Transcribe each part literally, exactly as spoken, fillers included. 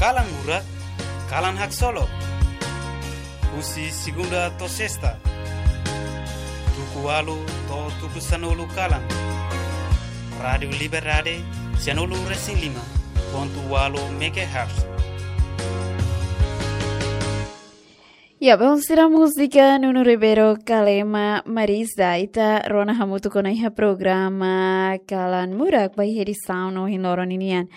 Kalan Murak, kalan haksolok. Husi segunda to'o sesta, tuku ualu to'o tuku sanulu kalan. Rádiu Liberdade, sianulu resin lima pontu ualu megahertz. Ya, belun sira, múzika Nuno Ribeiro Kalema Marisa, ita rona hamutuk ona iha programa Kalan Murak ba iha edisaun ohin loron ninian.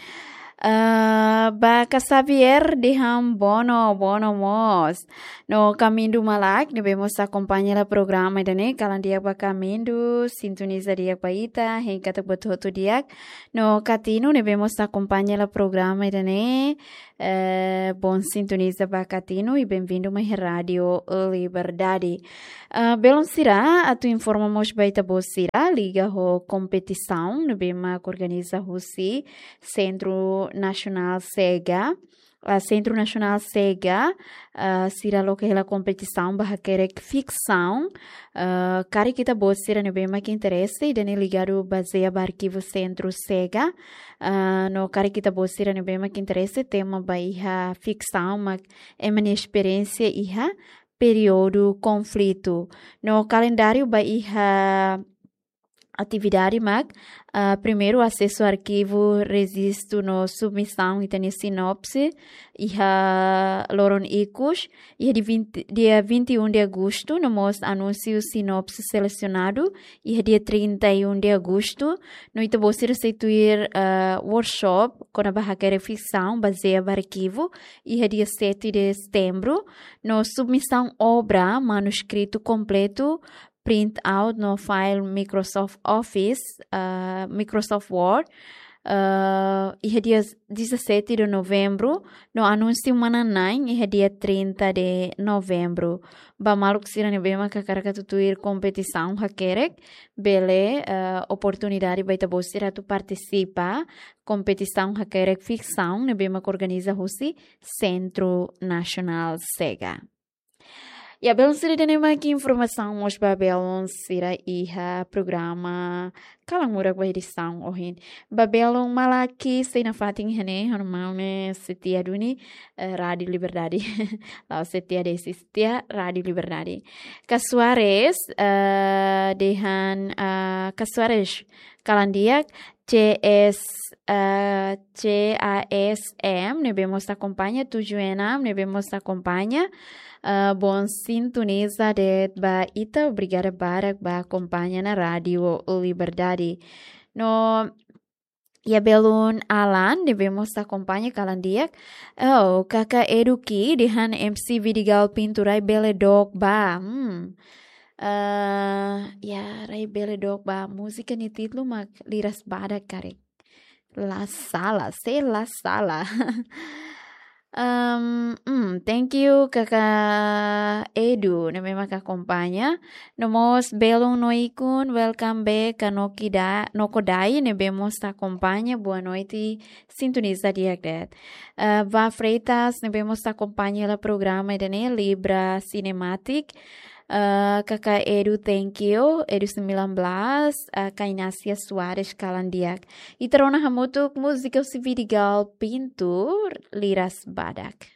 Ah, ba Ka Xavier dehan bono, bono mós. No Kamindu Malak, ne'ebé mós akompaña hela programa ida-ne'e, kalan di'ak ba Kamindu, sintoniza di'ak ba ita, hein katak buat hotu di'ak. No Katinu, ne'ebé mós akompaña hela programa ida-ne'e, eh, bom sintonizadór ba Katinu, i benvindu mai Rádiu Liberdade. Ah, belun sira, atu informa mós ba ita-boot sira liga ho kompetisaun ne'ebé mak organiza husi Sentru Nasionál SEGA. Ah, Sentru Nasionál SEGA, ah, sira loke hela kompetisaun ba hakerek fiksaun. Ah, karik ita-boot sira ne'ebé mak interese, ida-ne'e ligadu bazeia ba arkivu Sentru SEGA. Ah, no karik ita-boot sira ne'ebé mak interese, tema ba iha fiksaun mak ema nia esperiénsia iha períodu konflitu. No kalendáriu ba iha atividade mak, ah, primeiru asesu arkivu, rejistu no submisaun ita-nia sinopse iha loron ikus, iha dia vinte, dia vinte e um de agosto, no mós anúnsiu sinopse selesionadu iha dia trinta e um de agosto, no ita-boot sira sei tuir, ah, workshop kona-ba hakerek fiksaun bazeia ba arkivu iha dia sete de setembro, no submisaun obra, manuskritu kompletu, print out no file Microsoft Office, ah, Microsoft Word, ah, iha dia dezassete de novembro, no anúnsiu manán-na'in iha dia trinta de novembro. Ba maluk sira ne'ebé mak hakarak atu tuir kompetisaun hakerek, bele, ah, oportunidade ba ita-boot sira atu partisipa kompetisaun hakerek fiksaun ne'ebé mak organiza husi Sentru Nasionál SEGA. Ya, belun sira, ida-ne'e mak informasaun mós ba belun sira iha programa Kalan Murak ba edisaun ohin. Ba belun Malaki sei nafatin iha ne'e, ha'u-nia maun ne'e setia duni, eh, Rádiu Liberdade. La'ós setia de'it, setia Rádiu Liberdade. Ka Soares, eh, dehan, eh, Ka Soares, kalan di'ak, C S, eh, C A S M, ne'ebé mós akompaña, tujuh enam, ne'ebé mós akompaña, eh, bom sintonizadór ba ita, obrigada barak ba akompaña ona Rádiu Liberdade. No, ya, belun Alan, ne'ebé mós akompaña, kalan di'ak. Oh, Kaka Eduki, dehan M C Vidigal Pintu rai bele dook ba. Hmm. Eh, ya, rai bele dook ba, múzika nia títulu mak Liras Badak karik. La sala, se la sala. Em, hmm, thank you, Kaka Edu, ne'ebé mak akompaña. No mós belun Noikun, welcome back, Ka Nokida, Nokodai, ne'ebé mós akompaña, boa noite, sintoniza di'ak de'it. Eh, Vá Freitas, ne'ebé mós akompaña hela programa ida-ne'e, Libra Cinematic. Eh, Kaka Edu, thank you. Edu sembilan belas, eh, Ka Inácia Soares, kalan di'ak. Ita rona hamutuk múzika husi Vidigal Pintu, Liras Badak.